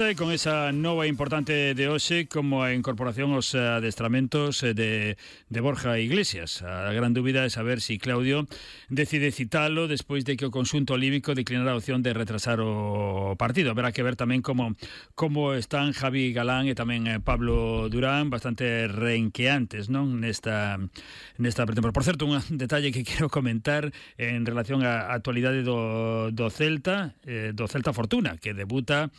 Con esa nova importante de hoxe como a incorporación aos adestramentos de Borja Iglesias. A gran dúbida é saber si Claudio decide citalo despois de que o conxunto olímpico declinara a opción de retrasar o partido. Haberá que ver tamén como están Javi Galán e tamén Pablo Durán, bastante renqueantes, non, nesta pretemporada. Por certo, un detalle que quero comentar en relación á actualidade do Celta Fortuna, que debuta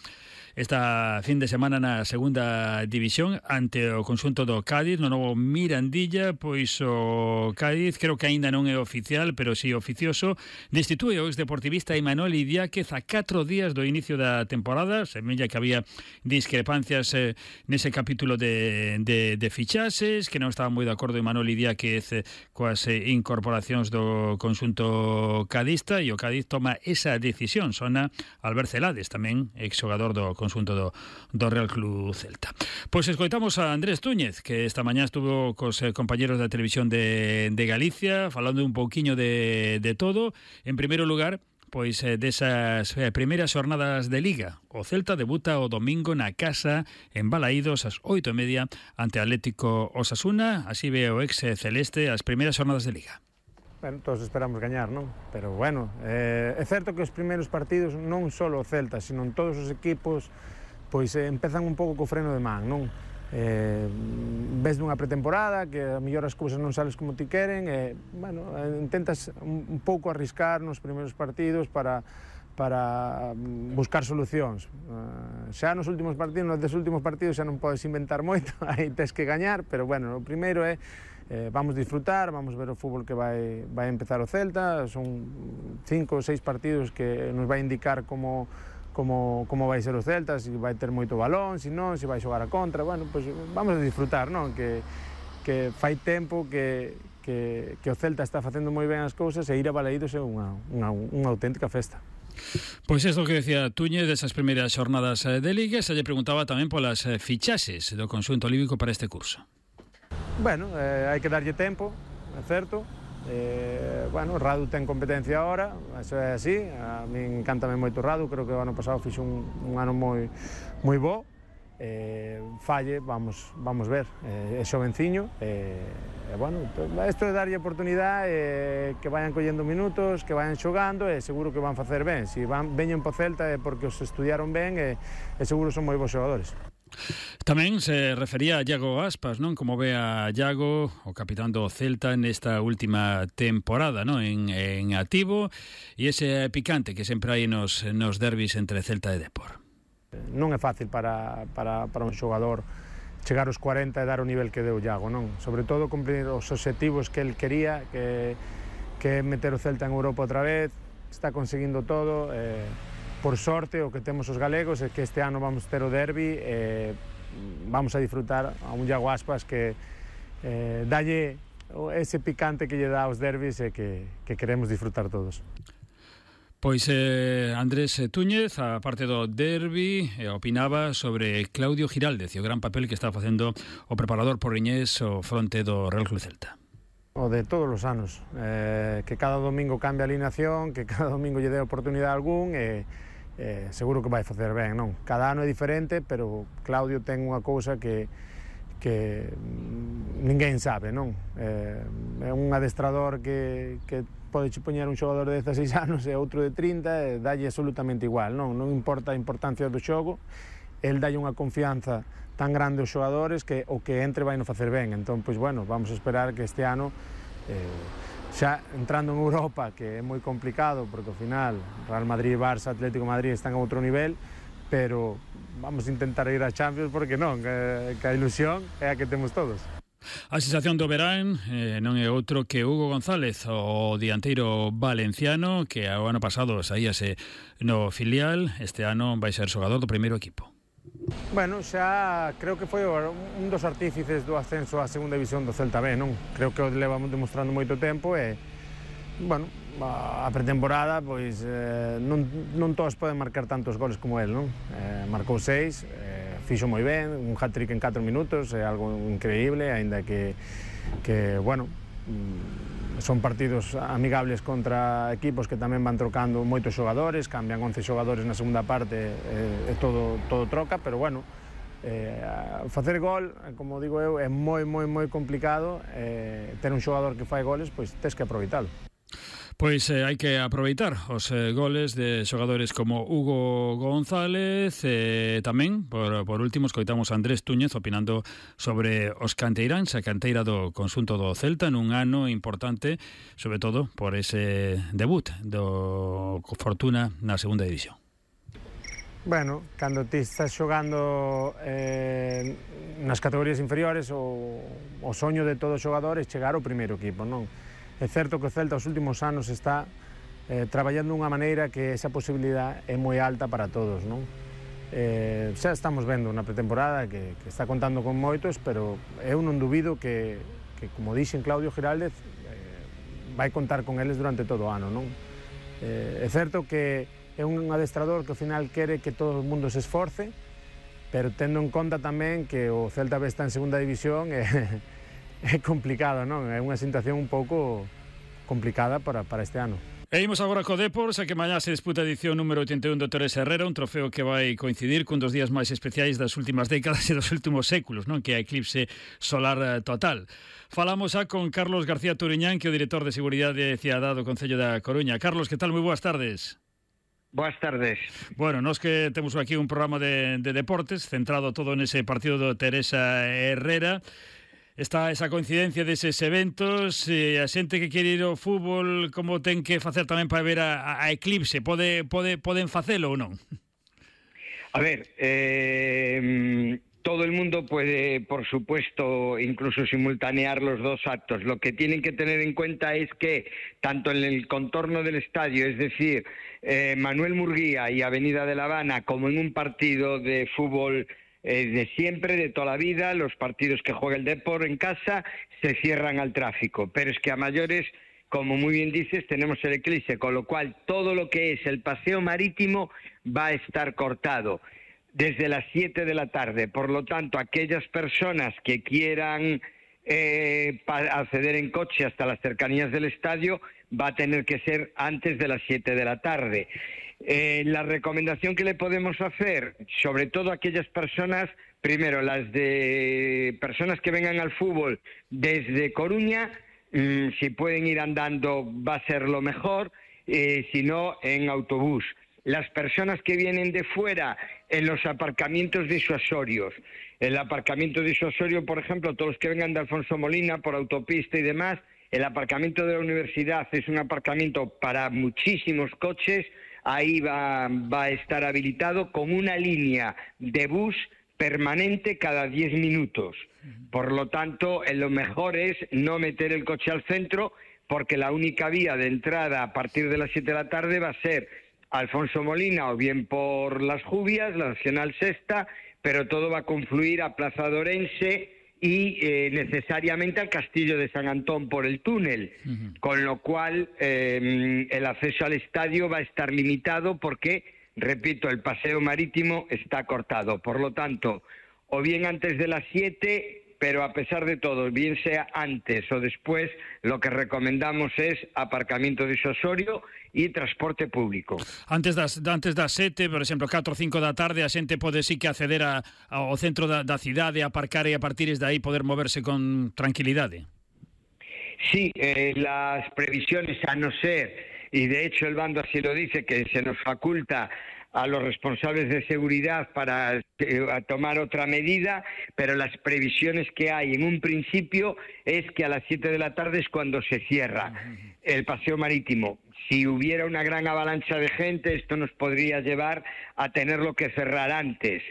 esta fin de semana na segunda división ante o conxunto do Cádiz, no novo Mirandilla. Pois o Cádiz, creo que aínda non é oficial, pero si oficioso, destitue o exdeportivista Imanol Idiáquez a 4 días do inicio da temporada. Semella que había discrepancias nese capítulo de fichaxes, que non estaba moi de acordo Imanol Idiáquez coas incorporacións do conxunto cadista, e o Cádiz toma esa decisión. Sona Albert Celades, tamén exxogador do conxunto do Real Club Celta. Pois escoitamos a Andrés Túñez, que esta mañá estuvo cos compañeros da televisión de Galicia, falando un pouquiño de todo. En primeiro lugar, pois desas primeiras xornadas de Liga. O Celta debuta o domingo na casa en Balaídos ás 8:30 ante Atlético Osasuna. Así ve o ex celeste as primeiras xornadas de Liga. Bueno, todos esperamos gañar, non? Pero bueno, é certo que os primeiros partidos non só o Celta, sino en todos os equipos, pois empezan un pouco co freno de man, non? Ves dunha pretemporada que a mellor as cousas non sales como ti queren, bueno, intentas un pouco arriscar nos primeiros partidos para buscar solucións. Xa nos últimos partidos xa non podes inventar moito, aí tes que gañar, pero bueno, o primeiro é vamos disfrutar, vamos ver o fútbol que vai empezar o Celta. Son 5 ou 6 partidos que nos vai indicar como vai ser o Celta, se vai ter moito balón, se non, se vai xogar a contra. Bueno, pois vamos a disfrutar, non? Que fai tempo que o Celta está facendo moi ben as cousas, e ir a Balaídos é unha auténtica festa. Pois isto que decía Túñez desas primeiras xornadas de Liga. Se lle preguntaba tamén polas fichaxes do conxunto olímpico para este curso. Bueno, hai que darlle tempo, é certo. Bueno, Radu ten competencia agora, eso é así. A min encántame moito Radu, creo que o ano pasado fixo un ano moi bo. Falle, vamos ver, é xovenciño, bueno, isto é darlle oportunidade, que vayan collendo minutos, que vayan xogando, e seguro que van facer ben. Se veñen po Celta é porque os estudiaron ben, e seguro son moi bons xogadores. Tamén se refería a Iago Aspas, non? Como ve a Iago, o capitán do Celta, nesta última temporada, non? En activo, e ese picante que sempre hai nos derbis entre Celta e Depor. Non é fácil para un xogador chegar aos 40 e dar o nivel que deu Iago, non? Sobre todo cumplir os obxectivos que el quería, que é meter o Celta en Europa outra vez. Está conseguindo todo. Por sorte, o que temos os galegos é que este ano vamos ter o derbi, vamos a disfrutar a un Iago Aspas que dalle ese picante que lle dá aos derbis, e que queremos disfrutar todos. Pois Andrés Túñez, a parte do derbi, opinaba sobre Claudio Giraldez e o gran papel que está facendo o preparador porriñés ao fronte do Real Club Celta. O de todos os anos, que cada domingo cambia a alineación, que cada domingo lle dé oportunidade a algún, seguro que vai facer ben, non? Cada ano é diferente, pero Claudio ten unha cousa que ninguén sabe, non? É un adestrador que pode poñer un xogador de 16 anos e outro de 30, e dalle absolutamente igual, non? Non importa a importancia do xogo, el dalle unha confianza tan grande aos xogadores que o que entre vai no facer ben. Entón, pois bueno, vamos a esperar que este ano, xa entrando en Europa, que é moi complicado, porque ao final Real Madrid, Barça, Atlético Madrid están a outro nivel, pero vamos a intentar ir a Champions, porque non, que a ilusión é a que temos todos. A sensación do verán non é outro que Hugo González, o dianteiro valenciano, que o ano pasado saíase no filial. Este ano vai ser xogador do primeiro equipo. Bueno, xa creo que foi un dos artífices do ascenso á segunda división do Celta B, non? Creo que o levamos demostrando moito tempo, e, bueno, a pretemporada, pois non todos poden marcar tantos goles como el, non? Marcou 6, fixo moi ben, un hat-trick en 4 minutos, é algo increíble, aínda que bueno, son partidos amigables contra equipos que tamén van trocando moitos xogadores, cambian 11 xogadores na segunda parte, todo troca, pero bueno, facer gol, como digo eu, é moi complicado, ter un xogador que fai goles, pois tes que aproveitalo. Pois hai que aproveitar os goles de xogadores como Hugo González, tamén, por último, escoitamos a Andrés Túñez opinando sobre os canteiráns, a canteira do conxunto do Celta nun ano importante, sobre todo por ese debut do Fortuna na segunda división. Bueno, cando ti estás xogando nas categorías inferiores, o soño de todo xogador é chegar ao primeiro equipo, non? É certo que o Celta os últimos anos está traballando dunha maneira que esa posibilidad é moi alta para todos, non? Xa estamos vendo na pretemporada que está contando con moitos, pero eu non dubido que como dixen Claudio Giraldez, vai contar con eles durante todo o ano, non? É certo que é un adestrador que ao final quere que todo o mundo se esforce, pero tendo en conta tamén que o Celta B está en segunda división, é complicado, non? É unha situación un pouco complicada para este ano. E imos agora co Depor, xa que mañá se disputa a edición número 81 do Teresa Herrera, un trofeo que vai coincidir cun dos días máis especiais das últimas décadas e dos últimos séculos, non? Que é a eclipse solar total. Falamos xa con Carlos García Turiñán, que é o director de Seguridade e Cidade do Concello da Coruña. Carlos, que tal? Moi boas tardes. Boas tardes. Bueno, nós que temos aquí un programa de deportes centrado todo nese partido do Teresa Herrera. Está esa coincidencia deses eventos, a xente que quere ir ao fútbol, como ten que facer tamén para ver a eclipse? Poden facelo ou non? A ver, todo el mundo puede, por supuesto, incluso simultanear los dos actos. Lo que tienen que tener en cuenta es que tanto en el contorno del estadio, es decir, Manuel Murguía y Avenida de La Habana, como en un partido de fútbol de siempre, de toda la vida, los partidos que juega el Depor en casa se cierran al tráfico, pero es que a mayores, como muy bien dices, tenemos el eclipse, con lo cual todo lo que es el paseo marítimo va a estar cortado desde las 7 de la tarde, por lo tanto aquellas personas que quieran acceder en coche hasta las cercanías del estadio va a tener que ser antes de las 7 de la tarde. La recomendación que le podemos hacer, sobre todo a aquellas personas, primero las de personas que vengan al fútbol desde Coruña, si pueden ir andando va a ser lo mejor, si no en autobús. Las personas que vienen de fuera en los aparcamientos disuasorios. El aparcamiento disuasorio, por ejemplo, todos los que vengan de Alfonso Molina por autopista y demás, el aparcamiento de la universidad es un aparcamiento para muchísimos coches. Ahí va a estar habilitado con una línea de bus permanente cada 10 minutos. Por lo tanto, lo mejor es no meter el coche al centro, porque la única vía de entrada a partir de las 7 de la tarde va a ser Alfonso Molina o bien por Las Jubias, la Nacional Sexta, pero todo va a confluir a Plaza de Orense y necesariamente al Castillo de San Antón por el túnel, con lo cual el acceso al estadio va a estar limitado porque, repito, el paseo marítimo está cortado. Por lo tanto, o bien antes de las 7, pero a pesar de todo, bien sea antes o después, lo que recomendamos es aparcamiento disuasorio e transporte público. Antes das 7, por exemplo, 4 ou 5 da tarde, a xente pode sí que acceder ao centro da cidade, aparcar e a partir de aí poder moverse con tranquilidade. Sí, las previsiones, a no ser, y de hecho el bando así lo dice, que se nos faculta a los responsables de seguridad para tomar otra medida, pero las previsiones que hay en un principio es que a las 7 de la tarde es cuando se cierra el paseo marítimo. Si hubiera una gran avalancha de gente, esto nos podría llevar a tenerlo que cerrar antes.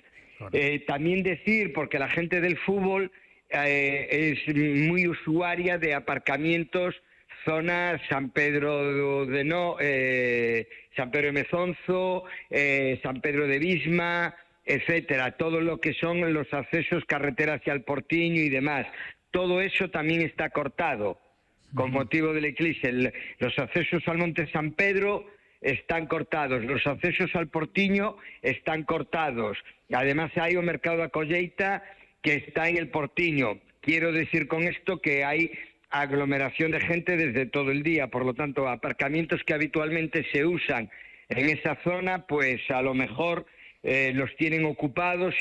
También decir, porque la gente del fútbol es muy usuaria de aparcamientos, zona San Pedro San Pedro de Mezonzo, San Pedro de Visma, etcétera, todo lo que son los accesos, carretera hacia el Portiño y demás. Todo eso también está cortado con motivo del eclipse. Los accesos al Monte San Pedro están cortados, los accesos al Portiño están cortados. Además hay un mercado da colleita que está en el Portiño. Quiero decir con esto que hay aglomeración de gente desde todo el día, por lo tanto, aparcamientos que habitualmente se usan en esa zona, pues a lo mejor los tienen ocupados y